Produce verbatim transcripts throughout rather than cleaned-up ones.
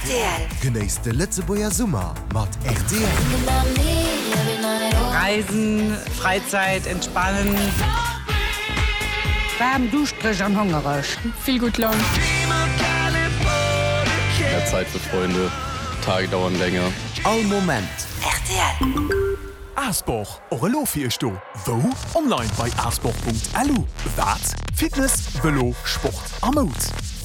Rtl. Genéisst de Lëtzebuerger Summer mat rtl. Reisen, Freizeit, entspannen. Waarm, duuschtereg an hongereg. Vill gutt Laun. Mehr Zeit für Freunde, Tage dauern länger. All Moment. Rtl. Asport, och elo fir iech do. Wou? Online bei asport.lu. Wat? Fitness, Vëlo, Sport a Moud.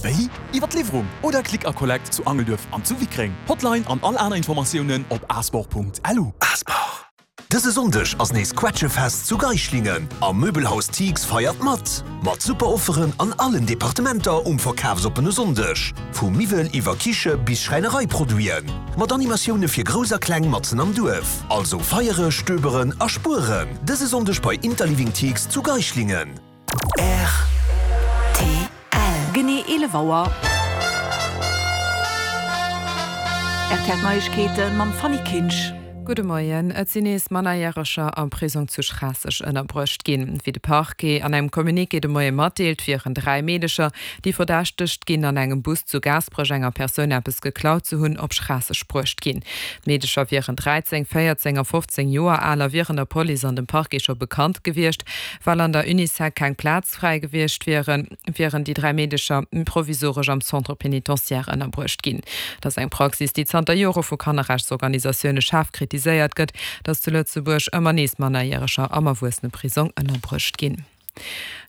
Wéi? Iwwer d'Liwwerung oder Click a Collect zu Angelduerf an zu Wickreng. Hotline an all aner Informatiounen op asport.lu. Asport. Dëse Sonndeg ass nees Quetschefest zu Geislingen a Möbelhaus Thix feiert mat. Mat super Offeren an allen Departementer um verkafsoppene Sonndeg. Vu Miwwel iwwer Kiche bis Schräinereiproduiten. Mat Animatioune fir Grouss a Kleng matzen am Duerf. Also feiere, stöberen a spueren. Dëse Sonndeg bei Interliving Thix zu Geislingen. Rtl. Genee eelef Auer. Rtl Neiegkeete mam Fanny Kinsch. Gudde Moien. Et sinn nees Mannerjäreger am Prisong zu Schraasseg ënnerbruecht ginn. Wéi de Parquet an engem Communiqué de Moie matdeelt, wieren dräi Meedecher, déi verdächtegt ginn, an engem Bus zu Gaasperech enger Persoun eppes geklaut ze hunn, op Schraasseg bruecht ginn. D'Meedecher wieren dräizéng, véierzéng a fofzéng Joer al a wieren der Police an dem Parquet scho bekannt gewiescht. Well an der Unisec keng Plaz fräi gewiescht wieren, wieren déi dräi Meedecher provisoresch am Centre pénitentiaire ënnerbruecht ginn. Et ass eng Praxis, déi zanter Jore vu Kannerrechtsorganisatioune schaarf kritiséiert gëtt, datt zu Lëtzebuerg ëmmer nees Mannerjäreger am Erwuesseneprisong ënnerbruecht ginn.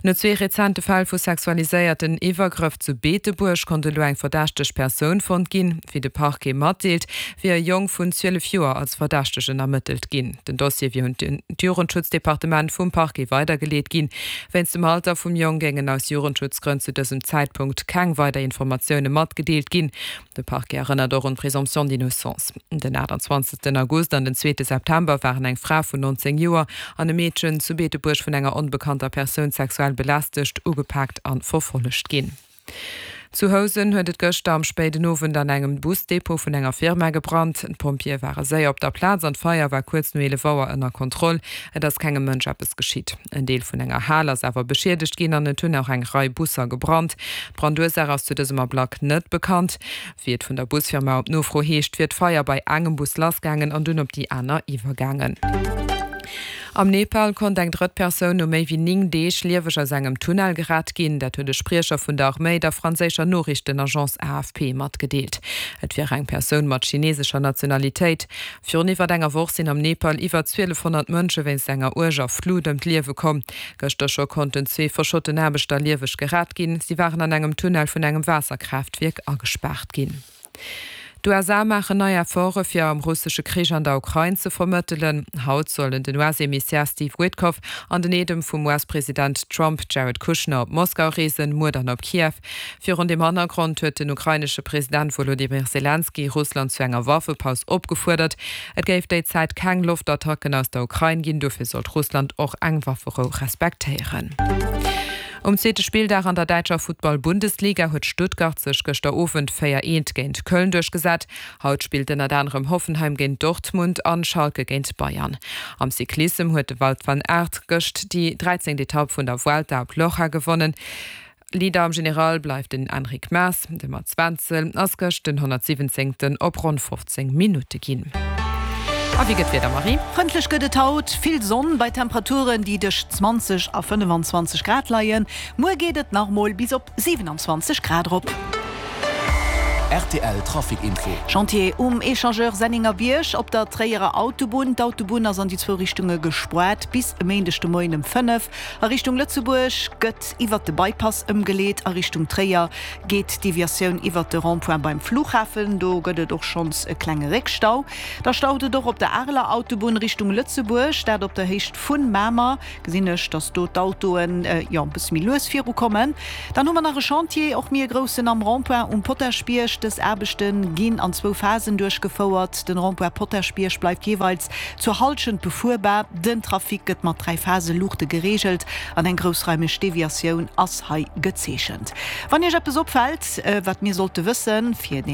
No zwee rezente Fäll vu sexualiséierten Iwwergrëff zu Beetebuerg konnt elo eng verdächteg Persoun fonnt ginn. Wéi de Parquet matdeelt, wier e Jong vun zwielef Joer als Verdächtegen ermëttelt ginn. Den Dossier wier un d'Jugendschutzdepartement vum Parquet weidergeleet ginn. Wéinst dem Alter vum Jong géingen aus Jugendschutzgrënn zu dësem Zäitpunkt keng weider Informatioune matgedeelt ginn. De Parquet erënnert och un d'Présomption d'innocence. Den achtundzwanzegsten August an den zweete September waren eng Fra vun nonzéng Joer an e Meedchen zu Beetebuerg vun enger onbekannter Persoun sexuell belästegt, ugepaakt an verfollegt ginn. Zu Housen huet et gëschter am spéiden Owend an engem Busdepot vun enger Firma gebrannt. D'Pompjeeë ware séier op der Plaz an d'Feier war kuerz no eelef Auer ënner Kontroll. Et ass kengem Mënsch eppes geschitt. En Deel vun enger Hal ass awer beschiedegt ginn an et hunn och eng Rei Busser gebrannt. D'Brandursaach ass zu dësem Ablack net bekannt. Wéi et vun der Busfirma op Nofro heescht, wier d'Feier bei engem Bus lassgaangen an dunn op déi aner iwwergaangen. Am Nepal konnt eng drëtt Persoun no méi wéi néng Deeg lieweg aus engem Tunnel gerett ginn. Dat huet e Spriecher vun der Arméi der franséischer Noriichtenagence A F P matgedeelt. Et wier eng Persoun mat chinesescher Nationalitéit. Virun iwwer enger Woch sinn am Nepal iwwer zwielefhonnert Mënsche wéinst enger uerger Flut ëm d'Liewe komm. Gëschter scho konnten zwee verschotten Aarbechter lieweg gerett ginn. Si waren an engem Tunnel vun engem Waasserkraaftwierk agespaart ginn. D'U S A maachen nei Efforte fir am russesche Krich an der Ukrain ze vermëttelen. Haut sollen den U S-Emissär Steve Witkoff an den Eedem vum U S-President Trump Jared Kushner op Moskau reesen, muer dann op Kiew. Virun deem Hannergrond huet den ukrainesche President Wolodymyr Selenskyj Russland zu enger Waffepaus opgefuerdert. Et géif déi Zäit keng Loftattacken aus der Ukrain ginn, dofir sollt Russland och eng Wafferou respektéieren. Um zweete Spilldag an der däitscher Futtball-Bundesliga huet Stuttgart sech gëschter Owend véier eent géint Köln duerchgesat. Haut spillt ënnert anerem Hoffenheim géint Dortmund an Schalke géint Bayern. Am Cyclissem huet de Wout van Aert gëscht déi dräizéngt Etapp vun der Vuelta op Loja gewonnen. Leader am General bleift den Enric Mas. De Mats Wenzel ass gëscht den honnertsiwwenzéngten op ronn fofzéng Minutte ginn. A wéi gëtt d'Wieder, Marie? Frëndlech gëtt et haut, vill Sonn bei Temperaturen, déi tëscht zwanzeg a fënnefenzwanzeg Grad leien. Muer geet et nach mol bis op siwenanzwanzeg Grad erop. Rtl Trafic Info. Chantier um Echangeur Sennengerbierg op der Tréierer Autobunn. D'Autobunn ass an déi zwou Richtunge gespaart bis e Méindeg de Moien ëm fënnef. A Richtung Lëtzebuerg gëtt iwwert de Bypass ëmgeleet, a Richtung Tréier geet d'Deviatioun iwwert de Rond-point beim Flughafen. Do gëtt et och schonns e klenge Réckstau. Da staut et och op der Areler Autobunn Richtung Lëtzebuerg, dat op der Héicht vun Mamer. Gesinn ech, dass do d'Autoen, jo, e bësse méi lues virukommen. Dann hu mer nach e Chantier, och méi e groussen, am Rond-point um Potaschbierg. Dës Aarbechte ginn an zwou Phasen duerchgefouert. Den Rond-point Potaschbierg bleift jeeweils zur Hallschent befuerbar. Den Trafic gëtt mat dräi Phase-Luuchte gereegelt an eng groussraimeg Deviatioun ass hei gezeechent. Wann Iech eppes opfält, wat mir sollte wëssen, fir.